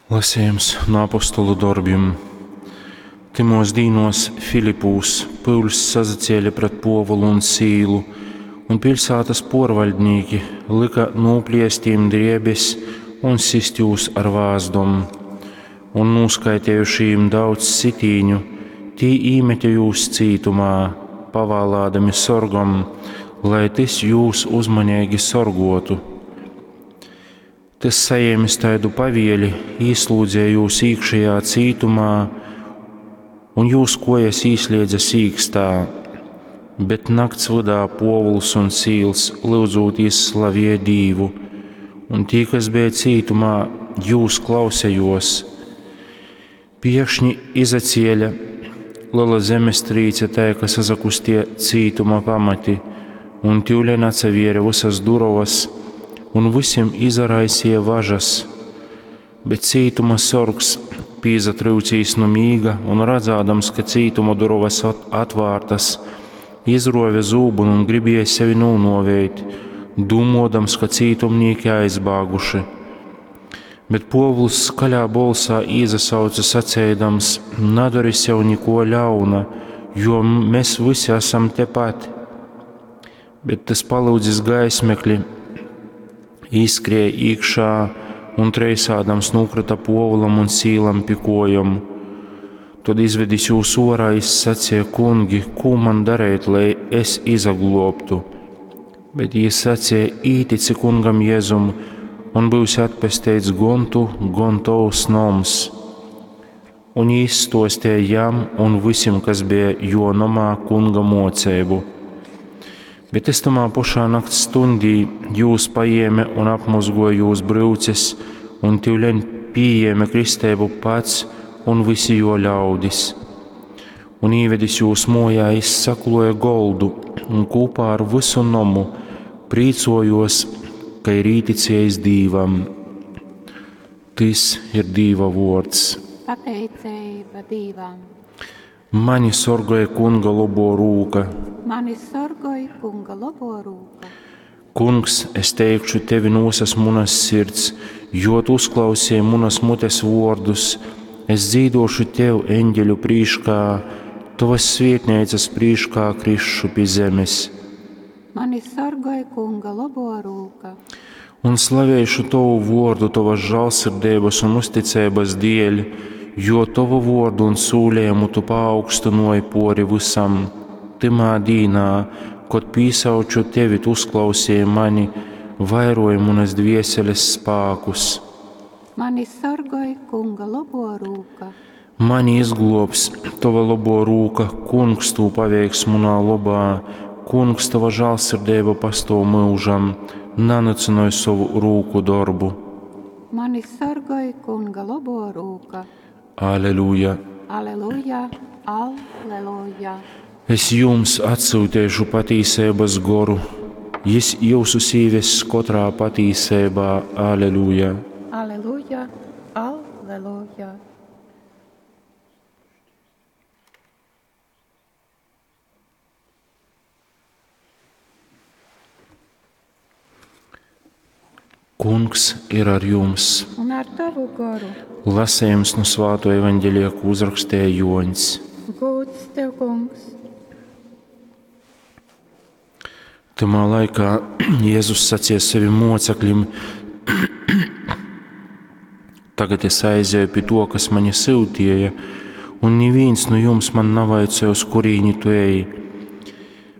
Lasejums no apostolu dorbim. Tymōs dīnōs Filipūs pyuļs sasacēle pret Pōvulu un Sīlu, un piļsātas pōrvaļdnīki lyka nūpliest jim drēbes un sist jūs ar vāzdom. Un nūskaitejuši jim daudz sitīņu, tī īmete jūs cītumā, pavālādami sorgam, lai tys jūs uzmaneigi sorgōtu. Tys, sajēmis taidu pavieli, īslūdzeja jūs īkšejā cītumā un jūs kojas īsliedze sīkstā. Bet nakts vydā Pōvuls un Sīls lyudzūtīs slavēja Dīvu, un tī, kas beja cītumā, jūs klausējos. Piekšņi izacēle lela zemestrīce tai, ka sasakustie cītuma pamati, un tyuleņ atsavēre vysas durovas, un vysim izaraisīja važas. Bet cītuma sorgs, pīsatryucīs nu mīga un radzādams, ka cītuma durovas atvārtas, izruove zūbynu un gribēja sevi nūnuovēt, dūmuodams, ka cītumnīki aizbāguši. Bet Pōvuls skaļā bolsā īsasauce saceidams: Nadori sev nikuo ļauna, jo mes vysi asam tepat. Bet tys palyudzis gaismekli, īskrēja īkšā un treisādams nūkrita Pōvulam un Sīlam pi kojom. Tod izvedis jūs orā, jis saceja: Kungi, kū man dareit, lai es izaglobtu? Bet jī saceja: Ītici kungam Jēzum, un būsi atpesteits gon tu, gon tovs noms. Un jī izstuostīja jam un vysim, kas bija jo nomā, kunga moceibu. Bet es tamā pašā nakts stundī jūs paēme un apmozgoja jūs bryuces, un tyuleņ pījēme kristeibu pats un visi jo ļaudis. Un īvedis jūs mojā, jis sakloja goldu un kopā ar visu nomu prīcojos, ka ir īticējis Dīvam. Tys ir Dīva vōrds. Pateiceiba Dīvam. Mani sorgoja Kunga labo rūka. Mani sorgoj Kunga labo rūka. Kungs, es teikšu tevi no visas munas sirds, jo tu uzklausīji munas mutes vārdus. Es dzīdošu tev eņģeļu prīškā, tavas svietnīcas prīškā krišu pi zemes. Mani sorgoj Kunga labo rūka. Un slavēšu tovu vārdu tavas žēlsirdības un uzticības dēļ, jo tovu vārdu un sūlējumu tu paaugstināji pori visam. Tymā dīnā, kad pīsauču tevi, tu uzklausīji mani, vairoji manas dvieseles spākus. Mani sorgoj Kunga labo rūka. Mani izglobs tava labo rūka, kungs tū paveiks munā lobā, kungs tava žālsirdība pastov mūžam, nanycynoj sovu rūku dorbu. Mani sorgoj Kunga labo rūka. Aleluja! Aleluja, aleluja. Es jums atsūtīšu patīsības goru, jis jūsus īvess katrā patīsībā. Aleluja! Aleluja, aleluja. Kungs ir ar jums. Un ar tavu goru. Lasījums no Svāto evaņģelija, ko uzrakstīja Joņs. Gods tev, kungs. Tamā laikā Jēzus sacīja saviem mocekļiem: Tagad es aizēju pie to, kas mani sūtīja, un neviens no jums man navaicāja, uz kurīni tu ej.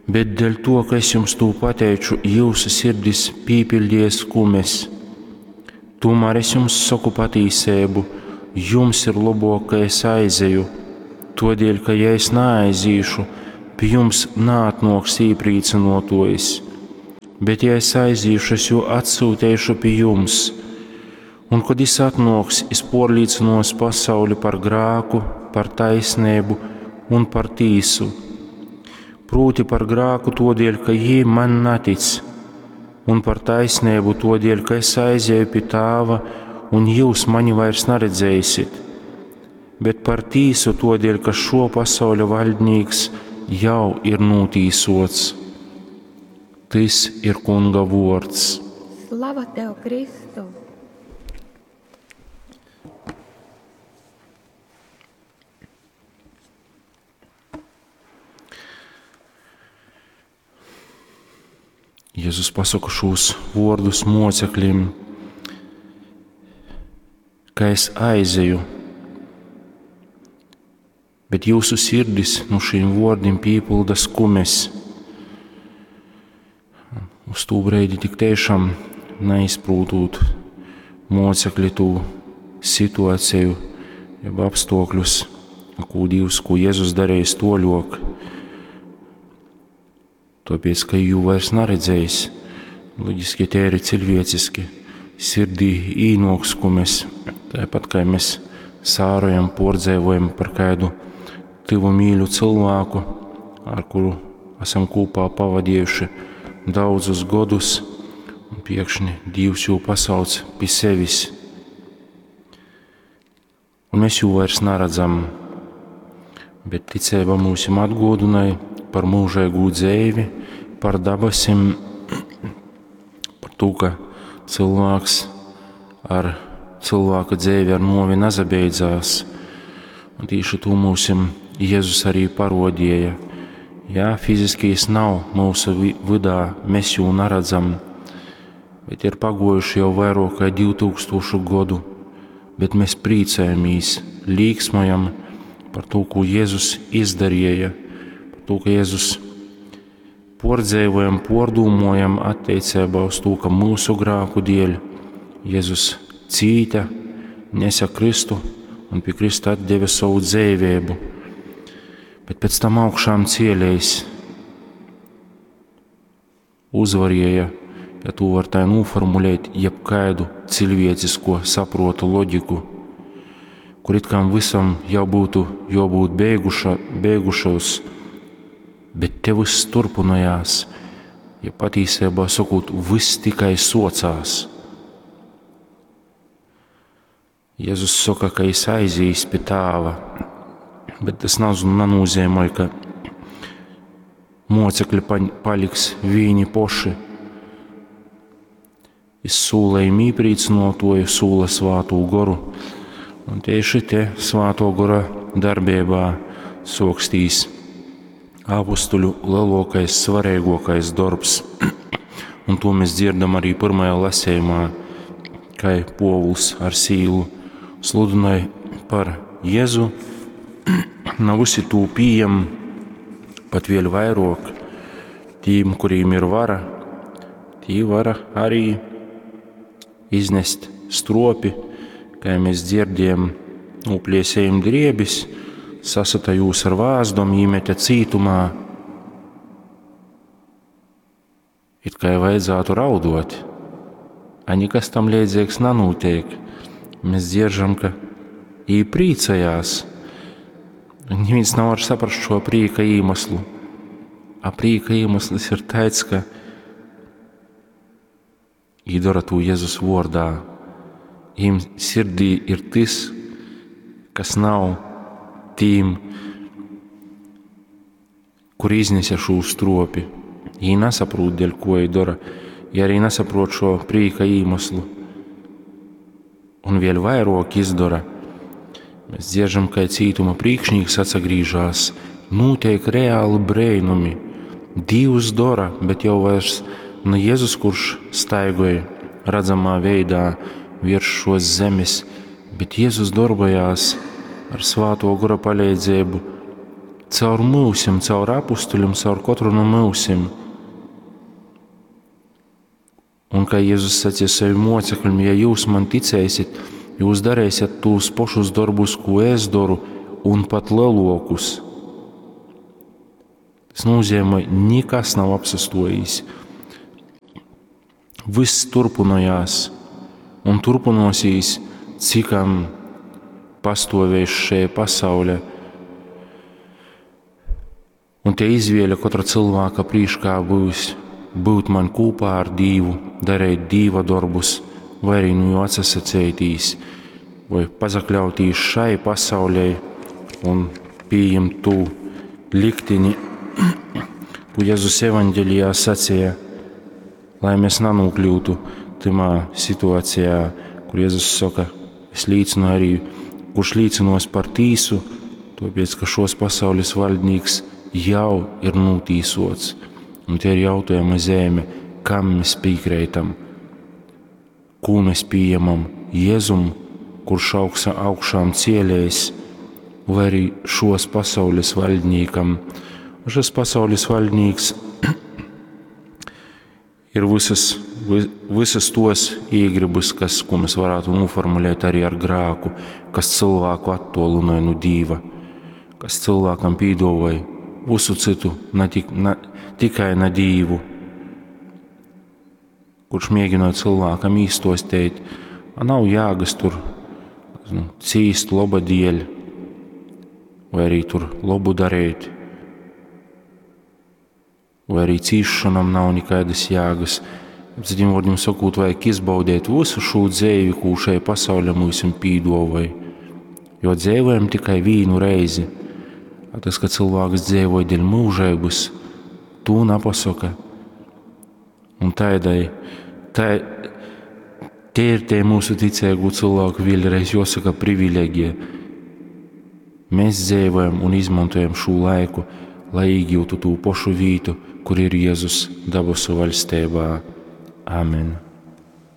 Bet dēļ to, ka es jums to pateicu, jūsu sirdis pīpildies kumes. Tomēr es jums saku patīsību, jums ir labāk, ka es aizeju, todēļ, ka ja es neaizīšu, pie jums neatnoks īprīcinotojs. Bet ja es aizīšu, es jū atsūtīšu pie jums. Un, kad es atnoks, es porlīcinos pasauli par grāku, par taisnību un par tīsu. Proti par grāku todēļ, ka jī man netic, un par taisnību todēļ, ka es aizēju pie tāva, un jūs mani vairs neredzēsiet. Bet par tīsu todēļ, ka šo pasauļa valdnieks jau ir notīsots. Tys ir Kunga vārds. Slava tev, Kristu! Jezus pasoka šūs vuordus moceklim, ka es aizeju, bet jūsu sirdis nu šīm vuordim pīpilda skumes. Uz tū breidi tik tiešām neizprūtūt mocekļi tū situāciju, jeb apstākļus, ko Dievs, ko Jēzus darījis toļok. Tāpēc, ka jū vairs naredzējis, loģiski tie ir cilvēciski, sirdī īnok skumes, tāpat kā mēs sārojam, pordzēvojam par kādu tuvu mīļu cilvēku, ar kuru esam kopā pavadījuši daudzus godus, un pēkšņi Dievs jū pasauc pie sevis. Un mēs jū vairs neredzam, bet ticība mūsim atgodināja par mūžīgu dzēvi, par dabasim, par to, ka cilvēks ar cilvēka dzēvi ar novi nazabeidzās. Un tieši to mūsim Jēzus arī parodīja. Jā, fiziski jis nav mūsu vydā, mēs jū neredzam, bet ir pagojuši jau vairāk kā 2000 godu, bet mēs priecājamies, līksmojam par to, ko Jēzus izdarīja, par to, ka Jēzus pordzēvojam, pordūmojam attiecībā uz to, ka mūsu grāku dēļ Jēzus cīta, nesa Kristu un pie Krista atdeva savu dzīvību, bet pēc tam augšām cielējs uzvarēja, ja to var tā noformulēt, jebkādu cilvēcisko saprotu loģiku, kur it kā visam jau būtu jābūt beigušos, bet te viss turpinājās, ja patīsībā sakot, viss tikai socās. Jēzus saka, ka es aizīs pie tāva, bet tas nenozīmē, ka mocekļi paliks vīni poši. Es sūlēju mīprīcinotoju, sūla svātū goru, un tieši te svāto gora darbībā sokstīs apustuļu lielākais, svarīgākais darbs. Un to mēs dzirdam arī pirmajā lasījumā, kā Povuls ar Sīlu sludināja par Jēzu. Nav visi tū pieejam, pat vēl vairāk tīm, kuriem ir vara, tī vara arī iznest stropi, kā mēs dzirdējam, nopliesējam driebis, sasata jūs ar vāzdom, īmete cītumā. It kā vajadzētu raudot, a nekas tam līdzīgs nenotiek. Mēs dzieržam, ka ī priecājās. Neviens nevar saprast šo prīka iemeslu. A prīka iemesls ir tāds, ka ī dara to Jēzus vārdā. Viņam sirdī ir tas, kas nav tīm, kur iznesa šo stropi. Viņi nesaprot, dēļ ko viņi dara. Viņi arī nesaprot šo prīka iemeslu. Un vēl vairāk izdara. Mēs dziežam, ka cītuma priekšnieks atsagrīžās, notiek reāli brēnumi. Dievs dara, bet jau vairs ne Jēzus, kurš staigoja redzamā veidā virs šos zemes, bet Jēzus darbojās ar svāto gora palīdzību caur mūsim, caur apustuļiem, caur katru no mūsim. Un kā Jēzus sacīja saviem mocekļiem, ja jūs man ticēsiet, jūs darīsiet tos pašus darbus, ko es daru, un pat lielākus. Tas nozīmē, nekas nav apsastojis. Viss turpinājās un turpinosies, cikam pastāvēs šajā pasaulē. Un te izvēle katra cilvēka priekšā būs būt man kopā ar Dievu, darīt Dieva darbus, vai arī nu jau atsasacētīs, vai pazakļautīs šai pasaulē un pieņemt tū likteni, ko Jēzus evaņģelijā sacīja, lai mēs nenokļūtu tamā situācijā, kur Jēzus saka, es liecinu arī, kurš liecinos par tīsu, tāpēc, ka šos pasaules valdnieks jau ir notīsots. Un te ir jautājuma zeme, Kam mēs pīkreitam? Kū mēs pījemam? Jēzum, kurš augsa, augšām cielējs, vai arī šos pasaules valdniekam. Un šis pasaules valdnieks ir visas, visas tos īgribas, kas, ko mēs varētu noformulēt arī ar grāku, kas cilvēku attolināja no Dīva, kas cilvēkam pīdavoja visu citu, ne tik, ne, tikai na Dīvu, kurš mēģināja cilvēkam īstostēt, a nav jāgas tur nu, cīst loba dieļ, vai arī tur labu darīt, vai arī cīšanam nav nekādas jēgas. Citiem vārdiem sakot, vajag izbaudīt visu šo dzēvi, ko šai pasaulē mums pīdovai. Jo dzēvojam tikai vienu reizi. A tas, ka cilvēks dzēvoja dēļ mūžības, to nepasaka. Un tādai, tā, te ir tie mūsu ticīgu cilvēku vēlreiz jāsaka privileģija. Mēs dzīvojam un izmantojam šo laiku, lai iegūtu to pašu vietu, kur ir Jēzus dabasu valstībā. Amen.